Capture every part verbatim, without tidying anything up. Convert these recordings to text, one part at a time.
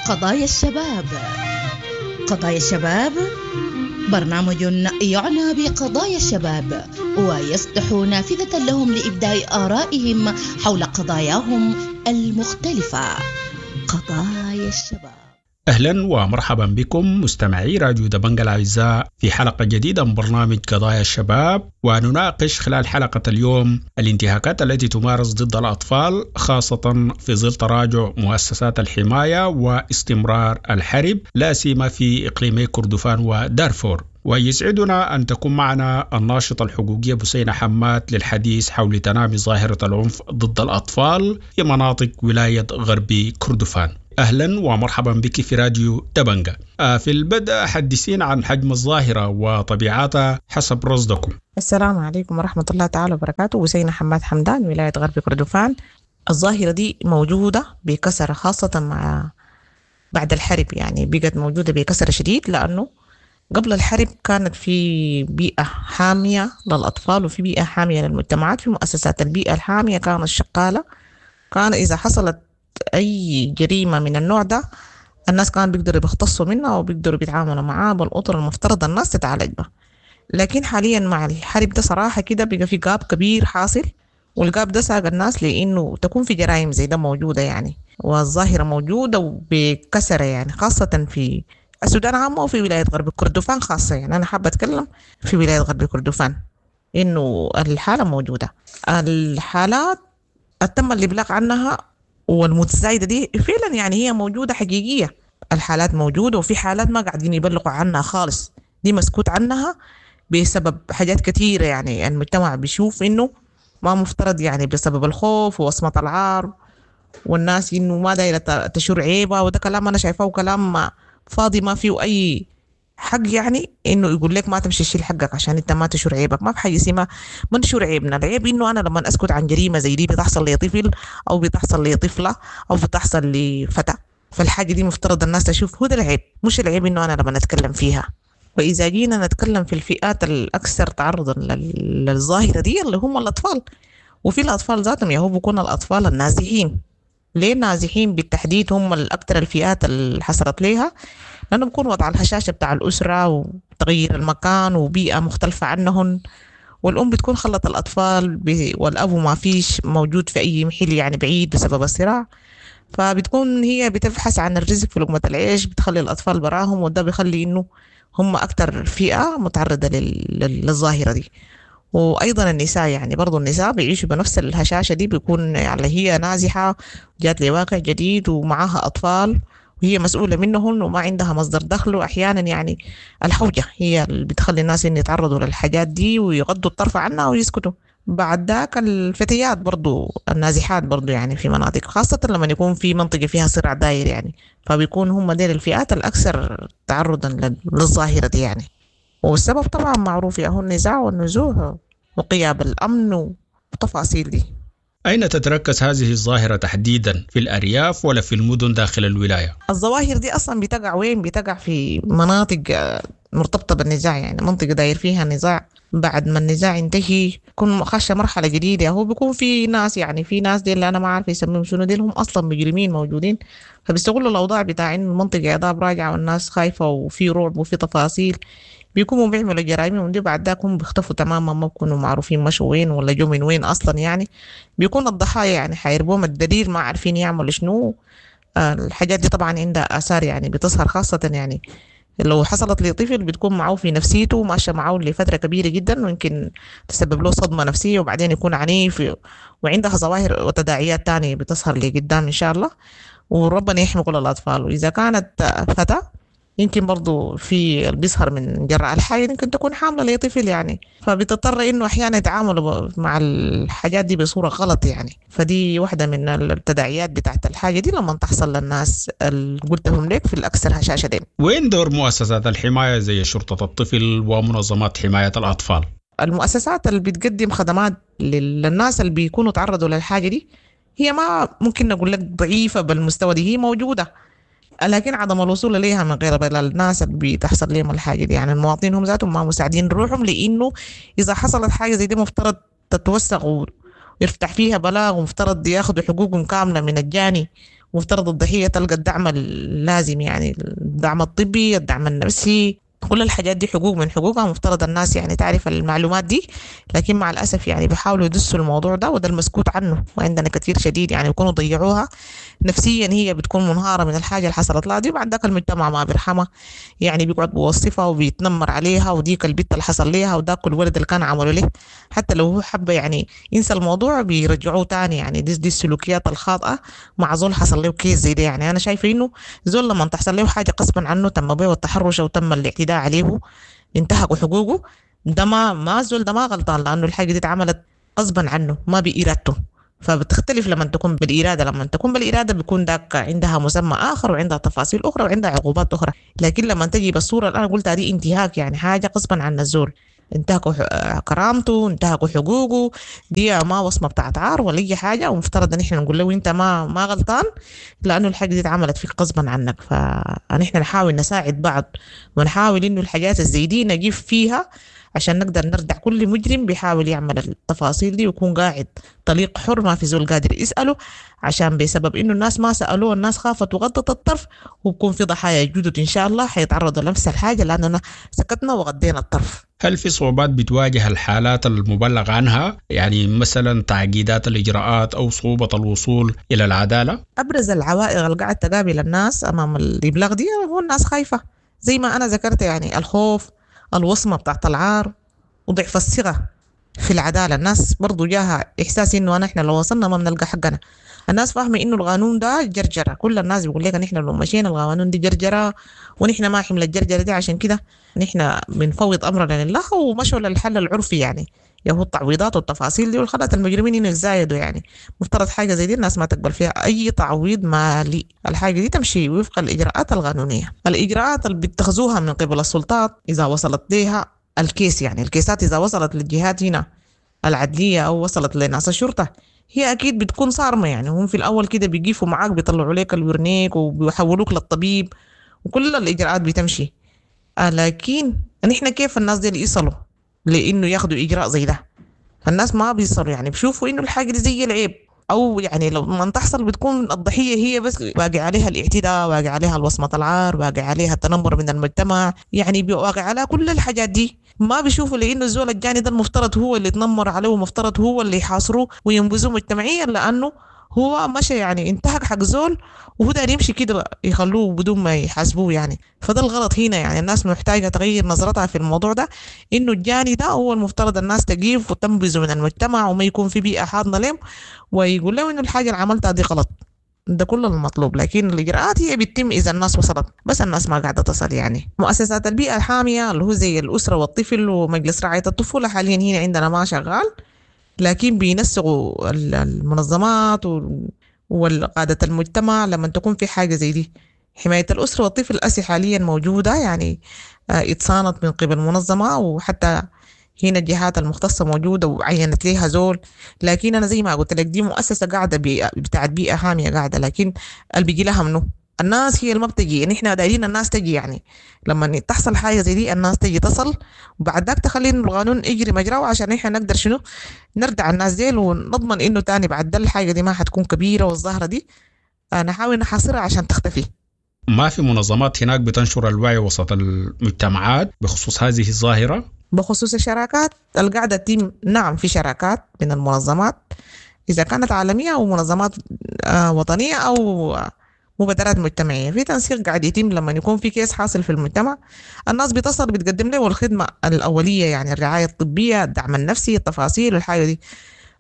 قضايا الشباب. قضايا الشباب برنامج يعنى بقضايا الشباب ويفتح نافذة لهم لإبداء آرائهم حول قضاياهم المختلفة. قضايا الشباب. أهلا ومرحبا بكم مستمعي راديو دبنجا الأعزاء في حلقة جديدة من برنامج قضايا الشباب، ونناقش خلال حلقة اليوم الانتهاكات التي تمارس ضد الأطفال خاصة في ظل تراجع مؤسسات الحماية واستمرار الحرب، لا سيما في إقليمي كردفان ودارفور. ويسعدنا أن تكون معنا الناشطة الحقوقية بسينة حماد للحديث حول تنامي ظاهرة العنف ضد الأطفال في مناطق ولاية غربي كردفان. أهلا ومرحبا بك في راديو دبنجا. في البدء حدثينا عن حجم الظاهرة وطبيعتها حسب رصدكم. السلام عليكم ورحمة الله تعالى وبركاته. بسينة حماد حمدان، ولاية غرب كردفان. الظاهرة دي موجودة بكثرة، خاصة مع بعد الحرب، يعني بقت موجودة بكثرة شديد، لأنه قبل الحرب كانت في بيئة حامية للأطفال وفي بيئة حامية للمجتمعات. في مؤسسات البيئة الحامية كانت شغالة، كان إذا حصلت أي جريمة من النوع ده الناس كانوا بيقدروا بيختصوا منها وبيقدروا بيتعاملوا معاه بالأطر المفترض الناس تتعالج بها. لكن حاليا مع الحرب ده صراحة كده بقى في gap كبير حاصل، وال gap ده ساق الناس لأنه تكون في جرائم زي ده موجودة يعني، والظاهرة موجودة وبكثرة يعني، خاصة في السودان عامة وفي ولاية غرب كردفان خاصة. يعني أنا حابة أتكلم في ولاية غرب كردفان إنه الحالة موجودة. الحالات تم الإبلاغ عنها والمتزايدة دي فعلا يعني هي موجودة حقيقية، الحالات موجودة، وفي حالات ما قاعدين يبلغوا عنها خالص، دي مسكوت عنها بسبب حاجات كثيرة. يعني المجتمع بيشوف إنه ما مفترض، يعني بسبب الخوف ووصمة العار والناس إنه ما دايرة تشور عيبة، وده كلام أنا شايفاه كلام فاضي ما فيه أي حق، يعني إنه يقول لك ما تمشي تشيل حقك عشان أنت ما تشور عيبك. ما في حاجة اسمها ما نشور عيبنا. العيب إنه أنا لما أسكت عن جريمة زي دي بتحصل لطفل أو بتحصل لطفلة أو بتحصل لفتاة، فالحاجة دي مفترض الناس تشوف هو ده العيب، مش العيب إنه أنا لما نتكلم فيها. وإذا جينا نتكلم في الفئات الأكثر تعرضا للظاهرة دي اللي هم الأطفال، وفي الأطفال ذاتهم يا هو بيكون الأطفال النازحين. ليه النازحين بالتحديد هم الأكثر الفئات اللي حصلت ليها؟ لأنه بيكون وضع الهشاشة بتاع الأسرة وتغيير المكان وبيئة مختلفة عنهن، والأم بتكون خلت الأطفال والأب ما فيش موجود في أي محل يعني بعيد بسبب الصراع، فبتكون هي بتبحث عن الرزق في لقمة العيش، بتخلي الأطفال براهم، وده بيخلي إنه هم أكثر فئة متعرضة للظاهرة دي. وأيضا النساء، يعني برضو النساء بيعيشوا بنفس الهشاشة دي، بيكون يعني هي نازحة جات لواقع جديد ومعاها أطفال وهي مسؤولة منهن وما عندها مصدر دخل، وأحيانا يعني الحوجة هي اللي بتخلي الناس إن يتعرضوا للحاجات دي ويغضوا الطرف عنها ويسكتوا. بعد ذاك الفتيات برضو النازحات برضو يعني في مناطق، خاصة لما يكون في منطقة فيها صراع داير يعني، فبيكون هم ديل الفئات الأكثر تعرضا للظاهرة دي يعني. والسبب طبعا معروف، هو النزاع والنزوح وغياب الأمن والتفاصيل دي. أين تتركز هذه الظاهرة تحديدا، في الأرياف ولا في المدن داخل الولاية؟ الظواهر دي أصلا بتقع وين؟ بتقع في مناطق مرتبطة بالنزاع، يعني منطقة داير فيها نزاع. بعد ما النزاع ينتهي يكون خش مرحلة جديدة، هو بيكون في ناس، يعني في ناس دي اللي أنا ما عارفة يسميهم شنو، دي هم أصلا مجرمين موجودين، فبيستغلوا الأوضاع بتاع إنه المنطقة يا راجعة والناس خايفة وفي رعب وفي تفاصيل، بيكونوا بيعملوا جرائمهم دي. بعد ذاك هم بيختفوا تماما، ما بيكونوا معروفين مشوا وين ولا جو من وين اصلا يعني. بيكون الضحايا يعني حيربوهم الدليل، ما عارفين يعملوا شنو. الحاجات دي طبعا عندها اثار يعني بتظهر، خاصة يعني لو حصلت لطفل بتكون معه في نفسيته وماشية معه لفترة كبيرة جدا، ويمكن تسبب له صدمة نفسية وبعدين يكون عنيف، وعندها ظواهر وتداعيات تانية بتظهر لقدام ان شاء الله، وربنا يحمي كل الاطفال. واذا كانت فتاة يمكن برضو في اللي بيظهر من جراء الحياة يمكن تكون حاملة لطفل يعني، فبتضطر إنه أحيانا يتعاملوا مع الحاجات دي بصورة غلط يعني. فدي واحدة من التداعيات بتاعت الحاجة دي لما تحصل للناس اللي قلتهم لك في الأكثر هشاشة دي. وين دور مؤسسات الحماية زي شرطة الطفل ومنظمات حماية الأطفال؟ المؤسسات اللي بتقدم خدمات للناس اللي بيكونوا تعرضوا للحاجة دي هي ما ممكن نقول لك ضعيفة بالمستوى دي، هي موجودة، لكن عدم الوصول ليها من غير الناس اللي بتحصل لهم الحاجة دي، يعني المواطنين هم ذاتهم ما مساعدين روحهم، لأنه إذا حصلت حاجة زي دي مفترض تتوثق ويفتح فيها بلاغ، ومفترض ياخذوا حقوقهم كاملة من الجاني مفترض الضحية تلقى الدعم اللازم، يعني الدعم الطبي، الدعم النفسي، كل الحاجات دي حقوق من حقوقها، مفترض الناس يعني تعرف المعلومات دي، لكن مع الأسف يعني بيحاولوا يدسوا الموضوع ده، وده المسكوت عنه، وعندنا كثير شديد يعني بيكونوا ضيعوها نفسيا، هي بتكون منهارة من الحاجة اللي حصلت لها دي، وبعد ذاك المجتمع ما بيرحمها، يعني بيقعد بيوصفها وبيتنمر عليها، وديك البت اللي حصل ليها، وذاك الولد اللي كان عمله له، حتى لو هو حب يعني ينسى الموضوع بيرجعوه تاني. يعني دي, دي السلوكيات الخاطئة مع زول حصل له case زي ده. يعني أنا شايفة إنه زول لما تحصل له حاجة غصبا عنه، تم به التحرش وتم الاعتداء عليه، انتهكوا حقوقه، ده ما ما زول ده ما غلطان، لأنه الحاجة دي اتعملت غصبا عنه ما بإرادته. فبتختلف لما تكون بالإرادة، لما تكون بالإرادة بيكون ذاك عندها مسمى آخر وعندها تفاصيل أخرى وعندها عقوبات أخرى، لكن لما تجي بالصورة اللي أنا قلتها دي انتهاك، يعني حاجة غصبا عن الزول، انتهكوا كرامته، انتهكوا حقوقه، دي ما وصمة بتاعت عار ولا أي حاجة، ومفترض إن إحنا نقول له أنت ما ما غلطان، لأنه الحاجة دي اتعملت فيك غصبا عنك. فنحن نحاول نساعد بعض، ونحاول إنه الحاجات الزي دي نجيب فيها عشان نقدر نردع كل مجرم بيحاول يعمل التفاصيل دي، ويكون قاعد طليق حر ما في زول قادر يسأله، عشان بسبب إنه الناس ما سألوه الناس خافت وغطت الطرف، وبكون في ضحايا جدد إن شاء الله حيتعرضوا لنفس الحاجة، لأننا سكتنا وغطينا الطرف. هل في صعوبات بتواجه الحالات المبلغ عنها؟ يعني مثلا تعقيدات الإجراءات أو صعوبة الوصول إلى العدالة؟ أبرز العوائق اللي قاعد تقابل الناس أمام الإبلاغ دي هو الناس خايفة، زي ما أنا ذكرت، يعني الخوف، الوصمة بتاعت العار، وضعف الثقة في العدالة. الناس برضو جاها إحساس إنه أنا إحنا لو وصلنا ما بنلقى حقنا. الناس فاهمة إنه القانون ده جرجرة، كل الناس بيقول لك نحن لو مشينا القانون دي جرجرة، ونحن ما حمل الجرجرة دي، عشان كده نحن بنفوض أمرنا لله ومشوا للحل العرفي، يعني يهو التعويضات والتفاصيل دي، والخلت المجرمين إنه يتزايدوا. يعني مفترض حاجة زي دي الناس ما تقبل فيها أي تعويض مالي، الحاجة دي تمشي وفق الإجراءات القانونية، الإجراءات اللي بيتخذوها من قبل السلطات إذا وصلت لها الكيس، يعني الكيسات إذا وصلت للجهات هنا العدلية أو وصلت لناس الشرطة، هي أكيد بتكون صارمة. يعني هم في الأول كده بيقفوا معاك، بيطلعوا لك الورنيك وبيحولوك للطبيب وكل الإجراءات بتمشي، لكن نحن كيف الناس دي اللي يصلوا لإنه ياخدوا إجراء زي ده؟ فالناس ما بيصلوا، يعني بيشوفوا إنه الحاجة دي زي العيب، أو يعني لو ما تحصل بتكون الضحية هي بس باقي عليها الاعتداء، باقي عليها الوصمة العار، باقي عليها التنمر من المجتمع، يعني باقي على كل الحاجات دي. ما بيشوفوا لأنه الزول الجاني ده المفترض هو اللي يتنمر عليه، ومفترض هو اللي يحاصروه وينبذوه مجتمعيا، لأنه هو مشى يعني انتهك حق زول وهو داير يمشي كده يخلوه بدون ما يحاسبوه يعني. فده الغلط هنا، يعني الناس محتاجة تغير نظرتها في الموضوع ده، إنه الجاني ده هو المفترض الناس تقيف وتنبذه من المجتمع، وما يكون في بيئة حاضنة لهم، ويقول لهم إنه الحاجة اللي عملتها دي غلط. ده كل المطلوب، لكن الإجراءات هي بتتم إذا الناس وصلت، بس الناس ما قاعدة تصل. يعني مؤسسات البيئة الحامية اللي هو زي الأسرة والطفل ومجلس رعاية الطفولة حاليا هنا عندنا ما شغال، لكن بينسقوا المنظمات والقادة المجتمع لما تكون في حاجة زي دي. حماية الأسرة والطفل أسي حاليا موجودة، يعني اتصانت من قبل منظمة، وحتى هنا الجهات المختصة موجودة وعينت ليها زول. لكن أنا زي ما قلت لك دي مؤسسة قاعدة بيئة بتاعت بيئة حامية قاعدة، لكن اللي بيجي لها منه الناس هي اللي ما بتجي. نحن دايرين الناس تجي، يعني لما تحصل حاجة زي دي الناس تجي تصل، وبعد ذاك تخلي القانون يجري مجراه عشان نحن نقدر شنو نردع الناس ديل ونضمن انه تاني بعد ده الحاجة دي ما حتكون كبيرة، والظاهرة دي نحاول نحاصرها عشان تختفي. ما في منظمات هناك بتنشر الوعي وسط المجتمعات بخصوص هذه الظاهرة؟ بخصوص الشراكات القاعدة تتم، نعم في شراكات من المنظمات إذا كانت عالمية أو منظمات وطنية أو مبادرات مجتمعية. في تنسيق قاعد يتم لما يكون في كيس حاصل في المجتمع، الناس بتصل بتقدم له الخدمة الأولية، يعني الرعاية الطبية، الدعم النفسي، التفاصيل الحاجة دي.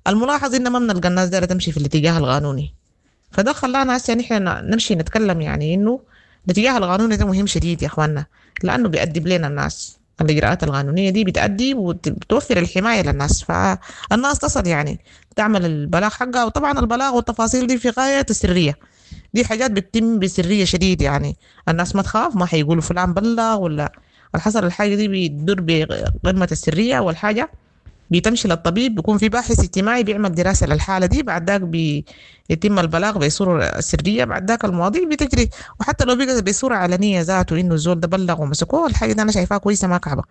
الملاحظ إن ما بنلقى الناس دايرة تمشي في الاتجاه القانوني، فده خلانا هسه نحن نمشي نتكلم يعني إنه الاتجاه القانوني ده مهم شديد يا إخواننا، لأنه بيأدب لنا الناس. الإجراءات القانونية دي بتأدي وبتوفر الحماية للناس، فالناس تصل يعني تعمل البلاغ حقها. وطبعا البلاغ والتفاصيل دي في غاية السرية، دي حاجات بتتم بسرية شديد، يعني الناس ما تخاف، ما حيقولوا فلان بلغ ولا الحصل. الحاجة دي بتدور بقمة السرية، والحاجة بتمشي للطبيب، بيكون في باحث اجتماعي بيعمل دراسة للحالة دي، بعد ذاك بيتم البلاغ بصورة سرية، بعد ذاك المواضيع بتجري. وحتى لو بقى بصورة علنية ذاته إنه الزول ده بلغ ومسكوه، الحاجة دي أنا شايفاها كويسة ما كعبة،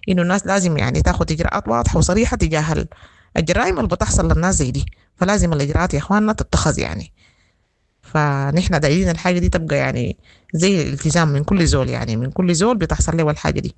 إنه الناس لازم يعني تاخد إجراءات واضحة وصريحة تجاه الجرائم اللي بتحصل للناس زي دي، فلازم الإجراءات يا إخواننا تتخذ يعني. فنحن دايرين الحاجة دي تبقى يعني زي الالتزام من كل زول، يعني من كل زول بتحصل له الحاجة دي.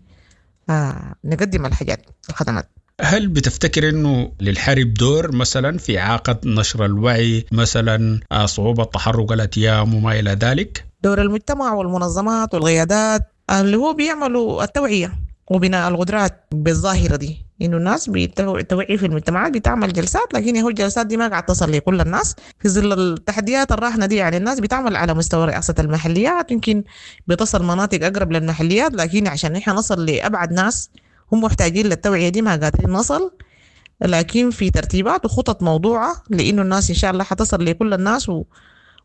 آه نقدم الحاجات الخدمات. هل بتفتكر انه للحرب دور مثلا في اعاقه نشر الوعي، مثلا صعوبة تحرك الاتيام وما الى ذلك؟ دور المجتمع والمنظمات والقيادات اللي هو بيعملوا التوعية وبناء القدرات بالظاهره دي، انه الناس بتوعي في المجتمعات، بتعمل جلسات، لكن هو الجلسات دي ما قاعد تصل لكل الناس في ظل التحديات الراهنة دي. يعني الناس بتعمل على مستوى رئاسة المحليات، يمكن بتصل مناطق اقرب للمحليات، لكن عشان نحن نصل لابعد ناس هم محتاجين للتوعية دي ما قادرين نصل. لكن في ترتيبات وخطط موضوعه لانه الناس ان شاء الله حتصل لكل الناس، و...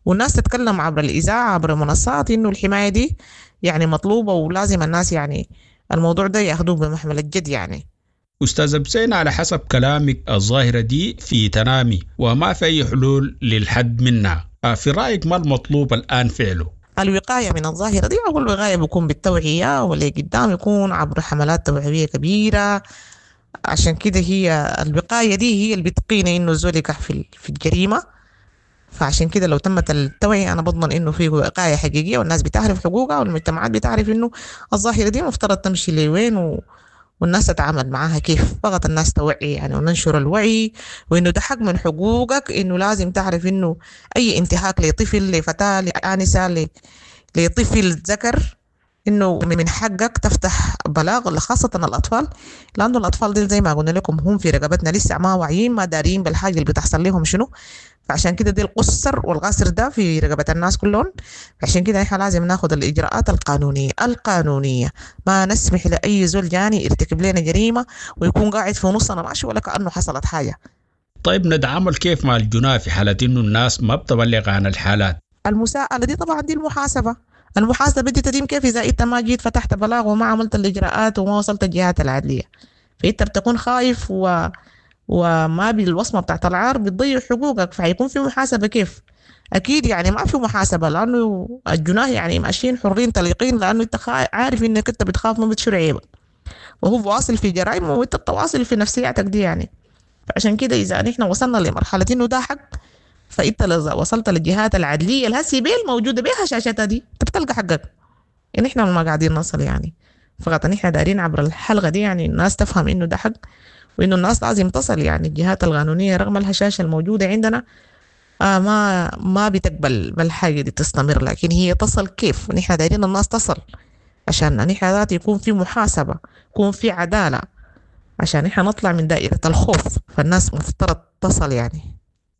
والناس تتكلم عبر الاذاعة عبر منصات انه الحماية دي يعني مطلوبه، ولازم الناس يعني الموضوع ده ياخذوه بمحمل الجد يعني. أستاذ بسين، على حسب كلامك الظاهرة دي في تنامي وما في أي حلول للحد منها، في رأيك ما المطلوب الآن فعله؟ الوقاية من الظاهرة دي، أول وقاية بيكون بالتوعية، واللي قدام يكون عبر حملات توعوية كبيرة. عشان كده هي الوقاية دي هي اللي بتقينا إنه الزول يقع في في الجريمة. فعشان كده لو تمت التوعية أنا بضمن إنه في وقاية حقيقية، والناس بتعرف حقوقها، والمجتمعات بتعرف إنه الظاهرة دي مفترض تمشي لوين و... والناس تتعامل معاها كيف. فقط الناس توعي يعني، وننشر الوعي، وإنه ده حق من حقوقك، إنه لازم تعرف إنه أي انتهاك لطفل، لفتاة، لآنسة، لطفل ذكر، إنه من حقك تفتح بلاغ، خاصة الأطفال، لأنه الأطفال دي زي ما قلنا لكم هم في رقبتنا لسه ما واعيين، ما دارين بالحاجة اللي بتحصل لهم شنو. فعشان كده دي القصر والغاسر ده في رقبة الناس كلهم. عشان كده احنا لازم ناخد الإجراءات القانونية القانونية، ما نسمح لأي زول جاني يرتكب لنا جريمة ويكون قاعد في نصنا ماشي ولا كأنه حصلت حاجة. طيب نتعامل كيف مع الجناة في حالة إنه الناس ما بتبلغ عن الحالات؟ المساءلة دي طبعا دي المحاسبة، المحاسبة دي تتم كيف إذا أنت ما جيت فتحت بلاغ وما عملت الإجراءات وما وصلت الجهات العدلية؟ فأنت بتكون خايف و وما بالوصمة بتاعت العار بتضيع حقوقك، فحيكون في محاسبة كيف؟ أكيد يعني ما في محاسبة، لأنه الجناه يعني ماشيين حرين طليقين، لأنه أنت عارف إنك أنت بتخاف ما بتشيل عيبك، وهو واصل في جرائمه وأنت بتواصل في نفسياتك دي يعني. فعشان كده إذا نحن وصلنا لمرحلة إنه ده حق، فأنت وصلت للجهات العدلية الهسي بيل موجودة بيها شاشتها دي، أنت بتلقى حقك. يعني إحنا ما قاعدين نصل يعني، فقط نحن دارين عبر الحلقة دي يعني الناس تفهم إنه ده حق، وإنه الناس لازم تصل يعني الجهات القانونية رغم الهشاشة الموجودة عندنا آه ما ما بتقبل بالحاجة دي تستمر، لكن هي تصل كيف؟ نحن دايرين الناس تصل عشان نحن ذات يكون في محاسبة، يكون في عدالة، عشان نحن نطلع من دائرة الخوف. فالناس مفترض تصل يعني.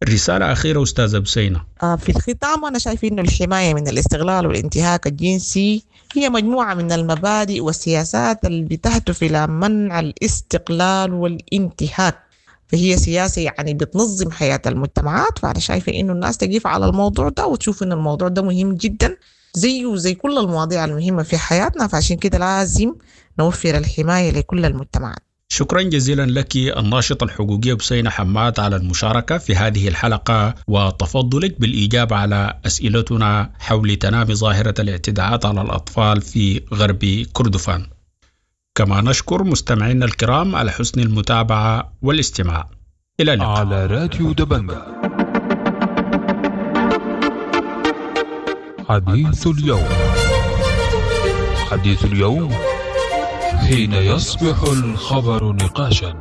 رسالة أخيرة أستاذة بسينة. آه في الختام أنا شايف إنه الحماية من الاستغلال والانتهاك الجنسي هي مجموعة من المبادئ والسياسات اللي بتهدف إلى منع الاستقلال والانتهاك، فهي سياسة يعني بتنظم حياة المجتمعات. فأنا شايفة إنه الناس تقف على الموضوع ده وتشوف إنه الموضوع ده مهم جدا زيه وزي كل المواضيع المهمة في حياتنا، فعشان كده لازم نوفر الحماية لكل المجتمعات. شكرا جزيلا لك الناشطة الحقوقية بسينة حماد على المشاركة في هذه الحلقة وتفضلك بالإجابة على أسئلتنا حول تنامي ظاهرة الاعتداءات على الأطفال في غرب كردفان. كما نشكر مستمعينا الكرام على حسن المتابعة والاستماع. إلى اللقاء. على راديو دبنجا حديث اليوم. حديث اليوم حين يصبح الخبر نقاشا.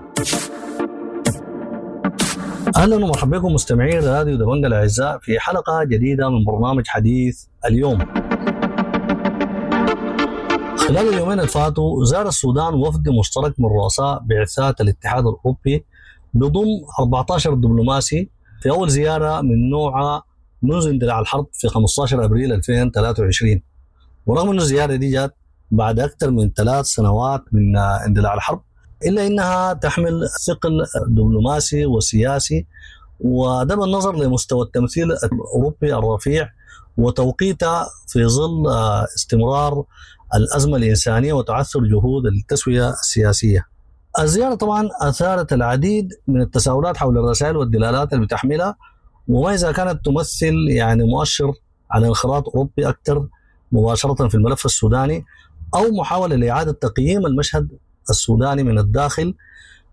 اهلا ومرحبا بكم مستمعين راديو دبنجا الاعزاء في حلقة جديدة من برنامج حديث اليوم. خلال اليومين اللي فاتوا زار السودان وفد مشترك من رؤساء بعثات الاتحاد الاوروبي بضم أربعة عشر دبلوماسي في اول زيارة من نوعها منذ اندلاع الحرب في خمسة عشر ابريل ألفين وثلاثة وعشرين. ورغم ان الزيارة دي جات بعد أكثر من ثلاث سنوات من اندلاع الحرب، إلا أنها تحمل ثقل دبلوماسي وسياسي، وده بالنظر لمستوى التمثيل الأوروبي الرفيع وتوقيتها في ظل استمرار الأزمة الإنسانية وتعثر جهود التسوية السياسية. الزيارة طبعا أثارت العديد من التساؤلات حول الرسائل والدلالات اللي بتحملها، وما إذا كانت تمثل يعني مؤشر على انخراط أوروبي أكثر مباشرة في الملف السوداني، أو محاولة لإعادة تقييم المشهد السوداني من الداخل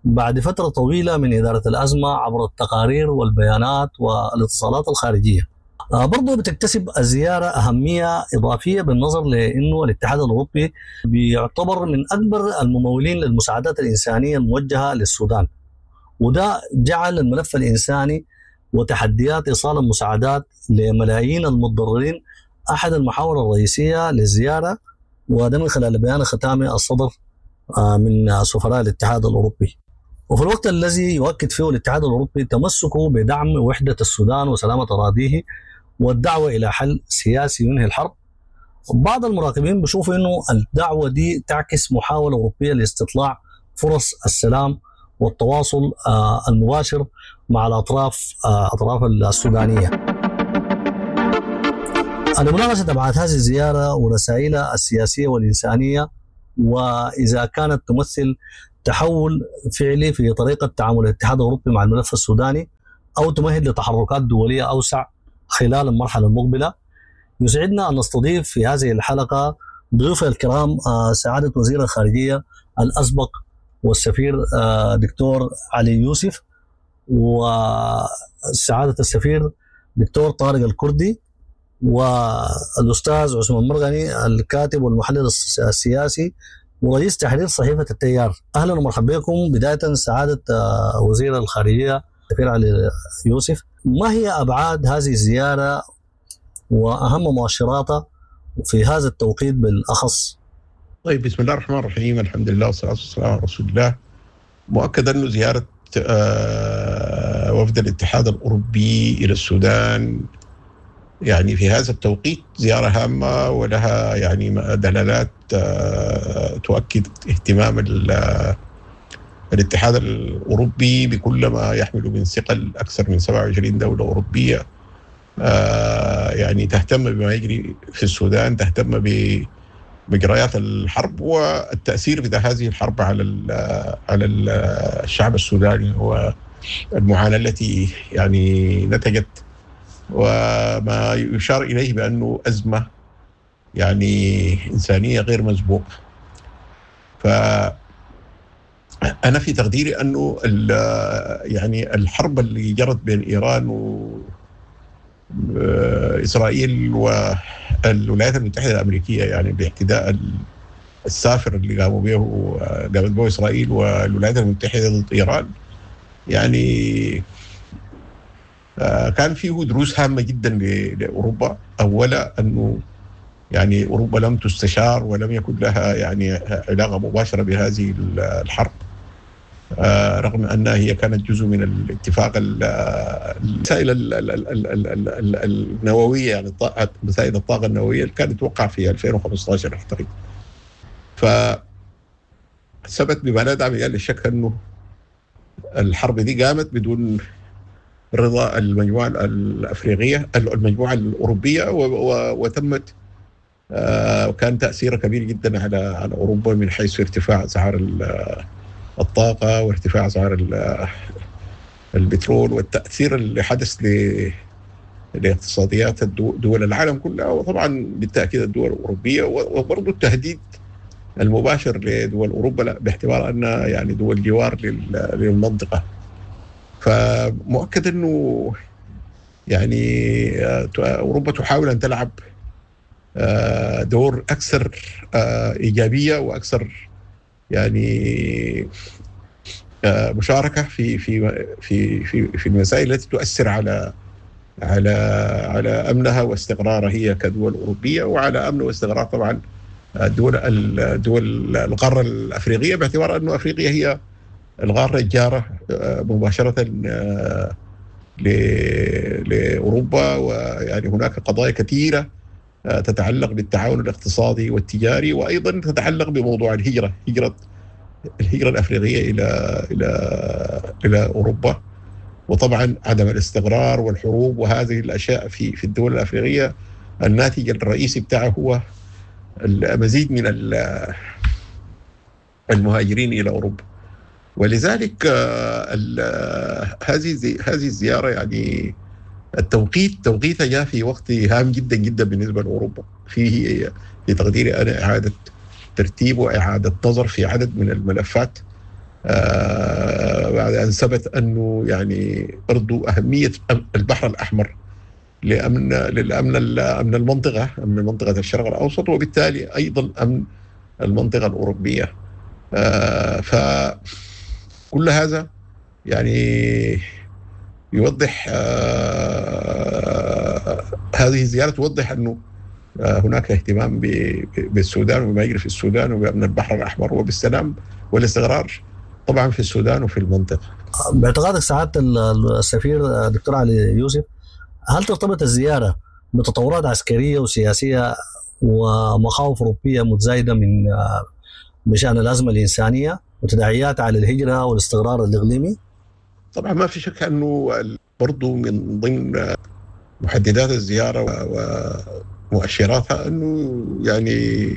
بعد فترة طويلة من إدارة الأزمة عبر التقارير والبيانات والاتصالات الخارجية. برضو بتكتسب الزيارة أهمية إضافية بالنظر لأنه الاتحاد الأوروبي بيعتبر من أكبر الممولين للمساعدات الإنسانية الموجهة للسودان، وده جعل الملف الإنساني وتحديات إيصال المساعدات لملايين المتضررين أحد المحاور الرئيسية للزيارة، وده من خلال بيان ختامي الصدر من سفراء الاتحاد الأوروبي. وفي الوقت الذي يؤكد فيه الاتحاد الأوروبي تمسكه بدعم وحدة السودان وسلامة أراضيه والدعوة إلى حل سياسي ينهي الحرب، بعض المراقبين بيشوفوا إنه الدعوة دي تعكس محاولة أوروبية لاستطلاع فرص السلام والتواصل المباشر مع الأطراف أطراف السودانية. لمناقشة أبعاد هذه الزيارة ورسائلها السياسية والإنسانية، وإذا كانت تمثل تحول فعلي في طريقة تعامل الاتحاد الأوروبي مع الملف السوداني أو تمهد لتحركات دولية أوسع خلال المرحلة المقبلة، يسعدنا أن نستضيف في هذه الحلقة ضيوفي الكرام سعادة وزير الخارجية الأسبق والسفير دكتور علي يوسف، وسعادة السفير دكتور طارق الكردي، والأستاذ عثمان مرغني الكاتب والمحلل السياسي ورئيس تحرير صحيفة التيار. أهلا ومرحبا بكم. بداية سعادة وزير الخارجية السفير علي يوسف، ما هي أبعاد هذه الزيارة وأهم مؤشراتها في هذا التوقيت بالأخص؟ طيب، بسم الله الرحمن الرحيم، الحمد لله والصلاة والسلام على رسول الله. مؤكد أنه زيارة وفد الاتحاد الأوروبي إلى السودان يعني في هذا التوقيت زيارة هامة ولها يعني دلالات تؤكد اهتمام الاتحاد الأوروبي بكل ما يحمل من ثقل أكثر من سبعة وعشرين دولة أوروبية يعني تهتم بما يجري في السودان، تهتم بمجريات الحرب والتأثير بتاع هذه الحرب على على الشعب السوداني والمعاناة التي يعني نتجت، وما يشار إليه بأنه أزمة يعني إنسانية غير مسبوقة. فأنا في تقديري أنه يعني الحرب اللي جرت بين إيران وإسرائيل والولايات المتحدة الأمريكية، يعني باعتداء السافر اللي قاموا به قامت به إسرائيل والولايات المتحدة ضد إيران، يعني كان فيه دروس هامة جدا لأوروبا. أولا أنه يعني أوروبا لم تستشار ولم يكن لها يعني علاقة مباشرة بهذه الحرب، رغم أنها هي كانت جزء من الاتفاق المسائل النووية، يعني مسائل الطاقة النووية اللي كانت توقع في ألفين وخمسة عشر أعتقد. فثبت بما لا داعي للشك أنه الحرب دي قامت بدون رضا المجموعة الأفريقية المجموعة الأوروبية، وتمت وكان تأثيرها كبير جدا على على أوروبا من حيث ارتفاع أسعار الطاقة وارتفاع أسعار البترول والتأثير اللي حدث لاقتصاديات دول العالم كلها، وطبعا بالتأكيد الدول الأوروبية، وبرضه التهديد المباشر لدول أوروبا باعتبار أنها يعني دول جوار للمنطقة. فمؤكد أنه يعني أوروبا تحاول أن تلعب دور أكثر إيجابية وأكثر يعني مشاركة في في في في في المسائل التي تؤثر على على على أمنها واستقرارها هي كدول أوروبية، وعلى أمن واستقرار طبعا دول دول القارة الأفريقية، باعتبار أنه أفريقيا هي القارة الجارة مباشرة لأوروبا، ويعني هناك قضايا كثيرة تتعلق بالتعاون الاقتصادي والتجاري، وأيضا تتعلق بموضوع الهجرة، هجرة الهجرة الأفريقية إلى إلى إلى أوروبا، وطبعا عدم الاستقرار والحروب وهذه الأشياء في في الدول الأفريقية الناتج الرئيسي بتاعه هو المزيد من المهاجرين إلى أوروبا. ولذلك هذه هذه الزيارة يعني التوقيت توقيتها جاء في وقت هام جدا جدا بالنسبة لأوروبا، فيه في تقديري أنا إعادة ترتيب وإعادة نظر في عدد من الملفات، بعد أن ثبت أنه يعني برضو أهمية البحر الأحمر لامن للامن امن المنطقة، امن منطقة الشرق الاوسط، وبالتالي ايضا امن المنطقة الاوروبية. فكل هذا يعني يوضح، هذه الزيارة توضح انه هناك اهتمام بالسودان وبما يجري في السودان وبأمن البحر الأحمر وبالسلام والاستقرار طبعا في السودان وفي المنطقة. باعتقادك سعادة السفير دكتور علي يوسف، هل ترتبط الزيارة بتطورات عسكرية وسياسية ومخاوف أوروبية متزايدة من بشأن الأزمة الإنسانية وتداعيات على الهجرة والاستقرار الإقليمي؟ طبعا ما في شك أنه برضو من ضمن محددات الزيارة ومؤشراتها أنه يعني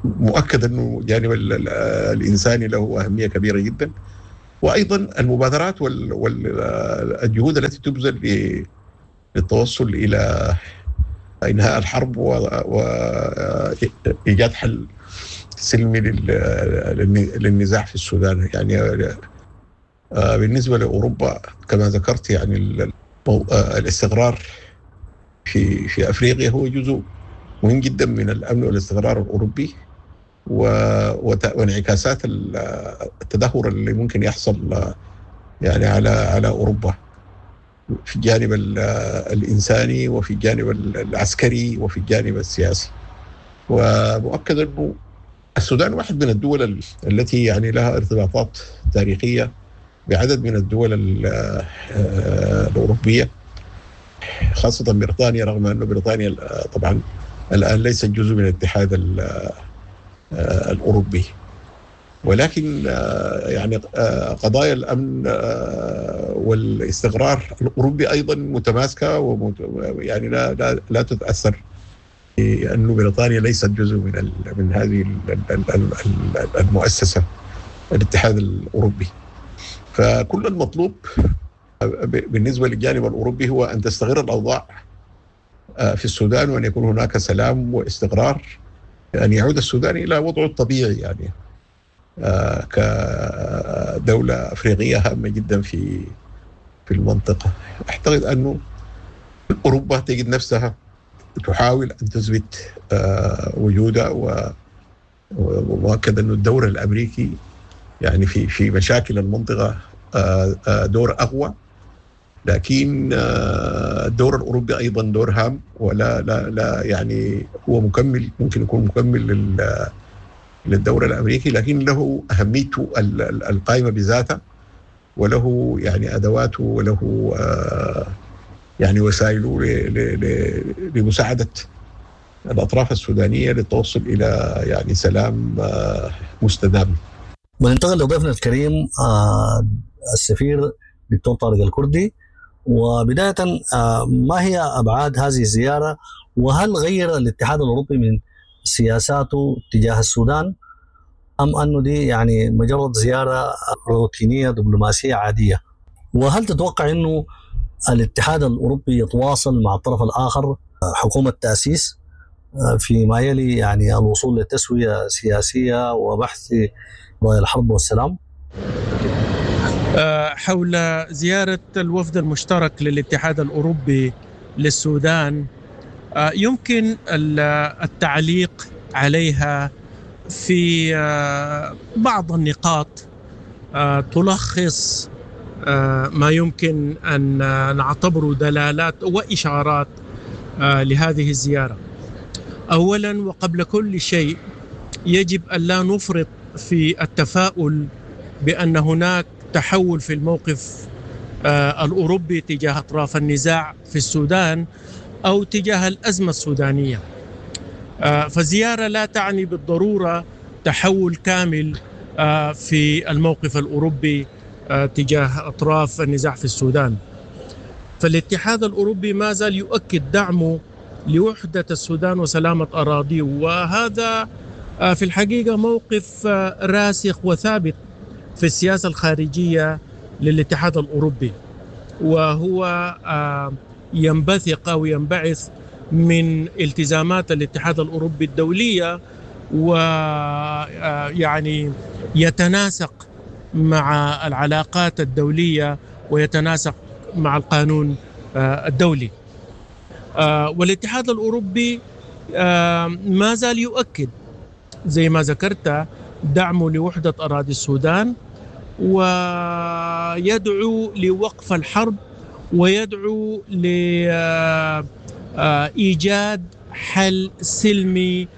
مؤكد أنه الجانب الإنساني له أهمية كبيرة جدا، وأيضا المبادرات والجهود التي تبذل للتوصل إلى إنهاء الحرب وإيجاد حل سلمي للنزاع في السودان. يعني بالنسبة لأوروبا كما ذكرت يعني الاستقرار في في أفريقيا هو جزء مهم جدا من الأمن والاستقرار الأوروبي، وانعكاسات التدهور اللي ممكن يحصل يعني على على أوروبا في الجانب الإنساني وفي الجانب العسكري وفي الجانب السياسي. ومؤكد أنه السودان واحد من الدول التي يعني لها ارتباطات تاريخية بعدد من الدول الأوروبية، خاصة بريطانيا، رغم أن بريطانيا طبعا الآن ليست جزء من الاتحاد الأوروبي، ولكن يعني قضايا الأمن والاستقرار الأوروبي أيضا متماسكة ويعني لا لا لا تتأثر لأن بريطانيا ليست جزء من من هذه المؤسسة الاتحاد الأوروبي. فكل المطلوب بالنسبة للجانب الأوروبي هو أن تستقر الأوضاع في السودان وأن يكون هناك سلام واستقرار، أن يعود السودان إلى وضعه الطبيعي يعني كدولة أفريقية هامة جدا في في المنطقة. أعتقد أنه أوروبا تجد نفسها تحاول أن تثبت وجودها، ومؤكد أنه الدور الأمريكي يعني في في مشاكل المنطقة دور أقوى، لكن الدور الأوروبي أيضا دور هام، ولا لا لا يعني هو مكمل، ممكن يكون مكمل لل للدور الأمريكي، لكن له أهميته القائمة بذاته، وله يعني أدواته، وله يعني وسائله لمساعدة الأطراف السودانية للتوصل إلى يعني سلام مستدام. وننتقل لضيفنا الكريم السفير دكتور طارق الكردي. وبداية ما هي أبعاد هذه الزيارة، وهل غير الاتحاد الأوروبي من سياساته تجاه السودان، أم أنه دي يعني مجرد زيارة روتينية دبلوماسية عادية؟ وهل تتوقع أنه الاتحاد الأوروبي يتواصل مع الطرف الآخر حكومة تأسيس فيما يلي يعني الوصول لتسوية سياسية وبحث رأي الحرب والسلام؟ حول زيارة الوفد المشترك للاتحاد الأوروبي للسودان، يمكن التعليق عليها في بعض النقاط تلخص ما يمكن أن نعتبره دلالات وإشارات لهذه الزيارة. أولا وقبل كل شيء يجب أن لا نفرط في التفاؤل بأن هناك تحول في الموقف الأوروبي تجاه أطراف النزاع في السودان أو تجاه الأزمة السودانية. فزيارة لا تعني بالضرورة تحول كامل في الموقف الأوروبي تجاه أطراف النزاع في السودان. فالاتحاد الأوروبي ما زال يؤكد دعمه لوحدة السودان وسلامة أراضيه، وهذا في الحقيقة موقف راسخ وثابت في السياسة الخارجية للاتحاد الأوروبي، وهو ينبثق أو ينبعث من التزامات الاتحاد الأوروبي الدولية، ويعني يتناسق مع العلاقات الدولية ويتناسق مع القانون الدولي. والاتحاد الأوروبي ما زال يؤكد زي ما ذكرت دعمه لوحدة أراضي السودان، ويدعو لوقف الحرب، ويدعو لإيجاد حل سلمي،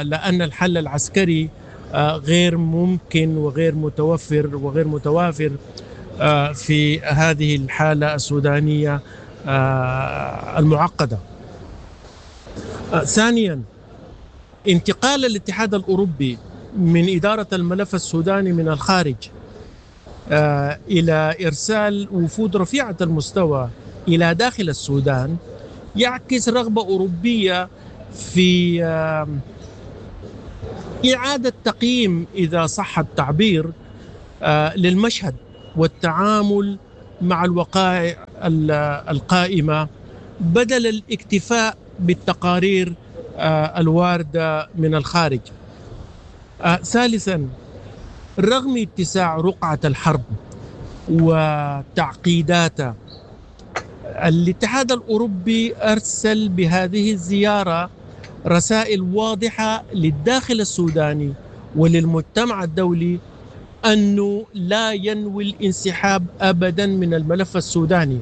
لأن الحل العسكري غير ممكن وغير متوفر وغير متوافر في هذه الحالة السودانية المعقدة. ثانيا، انتقال الاتحاد الأوروبي من إدارة الملف السوداني من الخارج إلى إرسال وفود رفيعة المستوى إلى داخل السودان يعكس رغبة أوروبية في إعادة تقييم، إذا صح التعبير، للمشهد والتعامل مع الوقائع القائمة بدل الاكتفاء بالتقارير الواردة من الخارج. ثالثا، رغم اتساع رقعة الحرب وتعقيداتها، الاتحاد الأوروبي أرسل بهذه الزيارة رسائل واضحة للداخل السوداني وللمجتمع الدولي أنه لا ينوي الانسحاب أبدا من الملف السوداني،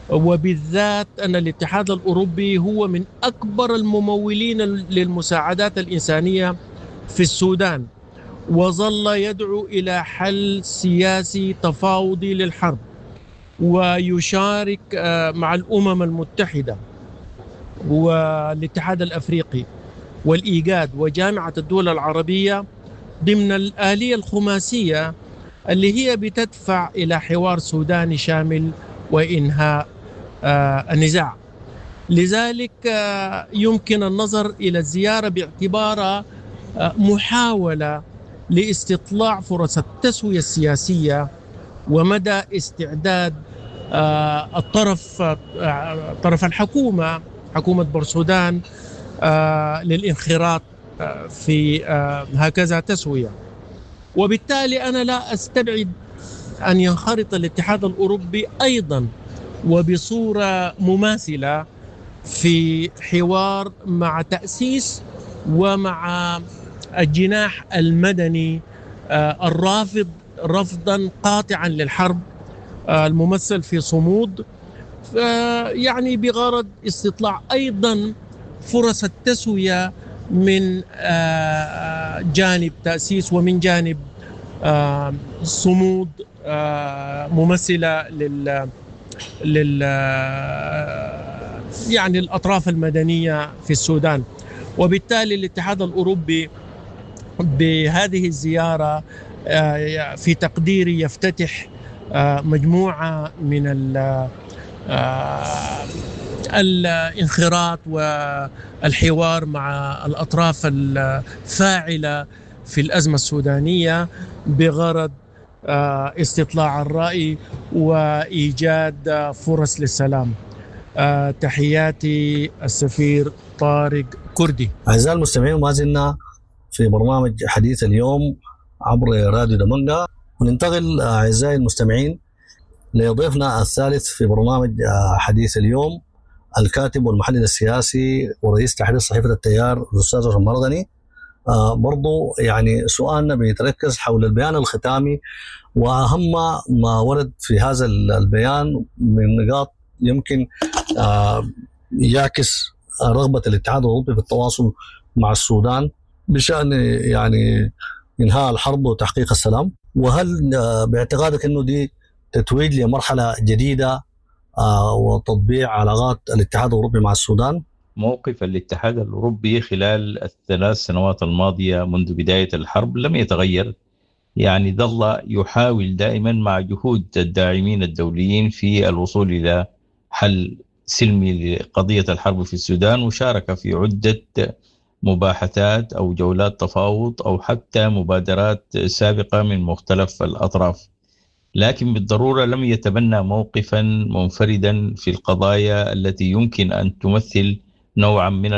وبالذات أن الاتحاد الأوروبي هو من أكبر الممولين للمساعدات الإنسانية في السودان، وظل يدعو إلى حل سياسي تفاوضي للحرب، ويشارك مع الأمم المتحدة والاتحاد الأفريقي والإيجاد وجامعة الدول العربية ضمن الآلية الخماسية اللي هي بتدفع إلى حوار سوداني شامل وإنهاء النزاع. لذلك يمكن النظر إلى الزيارة باعتبارها محاولة لاستطلاع فرص التسوية السياسية ومدى استعداد الطرف طرف الحكومة، حكومة بورسودان، للانخراط في هكذا تسوية. وبالتالي أنا لا أستبعد أن ينخرط الاتحاد الأوروبي أيضا وبصورة مماثلة في حوار مع تأسيس ومع الجناح المدني الرافض رفضا قاطعا للحرب الممثل في صمود، يعني بغرض استطلاع أيضا فرص التسوية من جانب تأسيس ومن جانب صمود ممثلة لل لل يعني الأطراف المدنية في السودان. وبالتالي الاتحاد الأوروبي بهذه الزيارة في تقديري يفتتح مجموعة من الانخراط والحوار مع الأطراف الفاعلة في الأزمة السودانية بغرض استطلاع الرأي وإيجاد فرص للسلام. تحياتي السفير طارق كردي. أعزائي المستمعين، ما زلنا في برنامج حديث اليوم عبر راديو دمنجة، وننتقل أعزائي المستمعين لضيفنا الثالث في برنامج حديث اليوم، الكاتب والمحلل السياسي ورئيس تحرير صحيفة التيار الأستاذ عثمان مرغني. آه برضو يعني سؤالنا بيتركز حول البيان الختامي وأهم ما ورد في هذا البيان من نقاط يمكن آه يعكس رغبة الاتحاد الأوروبي في التواصل مع السودان بشأن يعني إنهاء الحرب وتحقيق السلام. وهل باعتقادك أنه دي تتويج لمرحلة جديدة آه وتطبيع علاقات الاتحاد الأوروبي مع السودان؟ موقف الاتحاد الأوروبي خلال الثلاث سنوات الماضية منذ بداية الحرب لم يتغير، يعني ظل يحاول دائما مع جهود الداعمين الدوليين في الوصول إلى حل سلمي لقضية الحرب في السودان، وشارك في عدة مباحثات أو جولات تفاوض أو حتى مبادرات سابقة من مختلف الأطراف، لكن بالضرورة لم يتبنى موقفا منفردا في القضايا التي يمكن أن تمثل نوعا من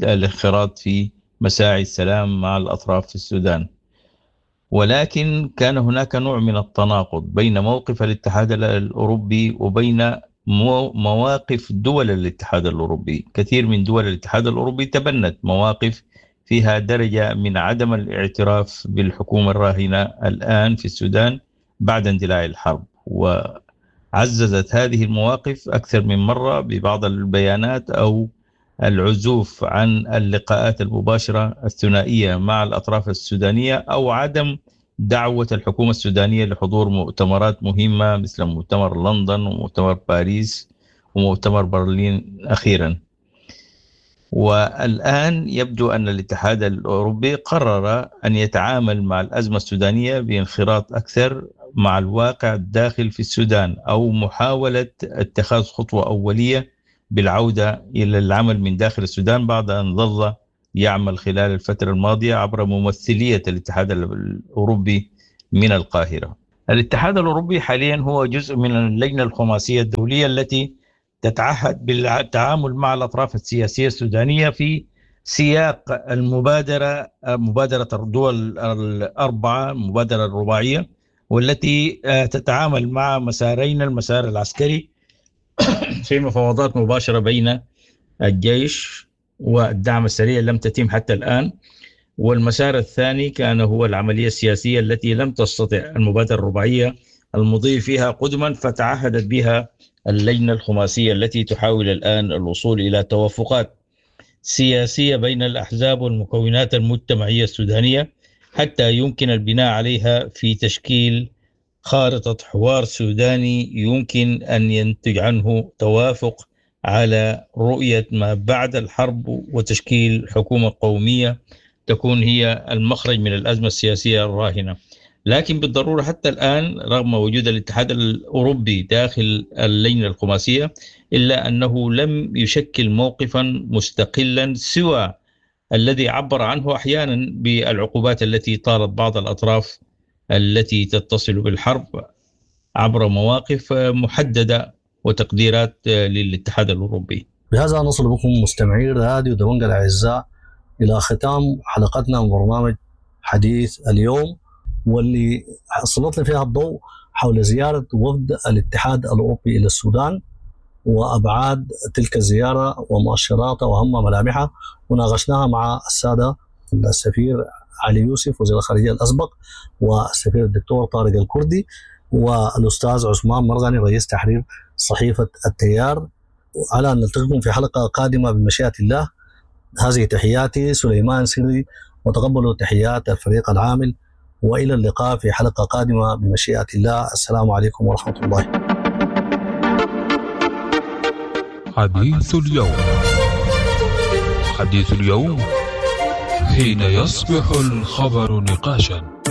الانخراط في مساعي السلام مع الأطراف في السودان. ولكن كان هناك نوع من التناقض بين موقف الاتحاد الأوروبي وبين مواقف دول الاتحاد الأوروبي. كثير من دول الاتحاد الأوروبي تبنت مواقف فيها درجة من عدم الاعتراف بالحكومة الراهنة الآن في السودان بعد اندلاع الحرب، وعززت هذه المواقف أكثر من مرة ببعض البيانات أو العزوف عن اللقاءات المباشرة الثنائية مع الأطراف السودانية، أو عدم دعوة الحكومة السودانية لحضور مؤتمرات مهمة مثل مؤتمر لندن ومؤتمر باريس ومؤتمر برلين أخيرا. والآن يبدو أن الاتحاد الأوروبي قرر أن يتعامل مع الأزمة السودانية بانخراط أكثر مع الواقع الداخل في السودان، أو محاولة اتخاذ خطوة أولية بالعودة إلى العمل من داخل السودان بعد أن ظل يعمل خلال الفترة الماضية عبر ممثلية الاتحاد الأوروبي من القاهرة. الاتحاد الأوروبي حاليا هو جزء من اللجنة الخماسية الدولية التي تتعهد بالتعامل مع الأطراف السياسية السودانية في سياق المبادرة، مبادرة الدول الأربعة، المبادرة الرباعية، والتي تتعامل مع مسارين: المسار العسكري في مفاوضات مباشرة بين الجيش والدعم السريع لم تتم حتى الآن، والمسار الثاني كان هو العملية السياسية التي لم تستطع المبادرة الرباعية المضي فيها قدما، فتعهدت بها اللجنة الخماسية التي تحاول الآن الوصول إلى توافقات سياسية بين الأحزاب والمكونات المجتمعية السودانية حتى يمكن البناء عليها في تشكيل خارطة حوار سوداني يمكن أن ينتج عنه توافق على رؤية ما بعد الحرب وتشكيل حكومة قومية تكون هي المخرج من الأزمة السياسية الراهنة. لكن بالضرورة حتى الآن رغم وجود الاتحاد الأوروبي داخل اللجنة الخماسية إلا أنه لم يشكل موقفا مستقلا سوى الذي عبر عنه أحيانا بالعقوبات التي طالت بعض الأطراف التي تتصل بالحرب عبر مواقف محددة وتقديرات للاتحاد الأوروبي. بهذا نصل بكم مستمعي راديو دبنجا الأعزاء إلى ختام حلقتنا من برنامج حديث اليوم، واللي سلطنا فيها الضوء حول زيارة وفد الاتحاد الأوروبي إلى السودان وأبعاد تلك الزيارة ومؤشراتها وأهم ملامحها، وناقشناها مع السادة السفير علي يوسف وزير الخارجية الأسبق، والسفير الدكتور طارق الكردي، والأستاذ عثمان مرغني رئيس تحرير صحيفة التيار. على أن نلتقيكم في حلقة قادمة بمشيئة الله. هذه تحياتي سليمان سري، وتقبلوا تحيات الفريق العامل، وإلى اللقاء في حلقة قادمة بمشيئة الله. السلام عليكم ورحمة الله. حديث اليوم، حديث اليوم حين يصبح الخبر نقاشا.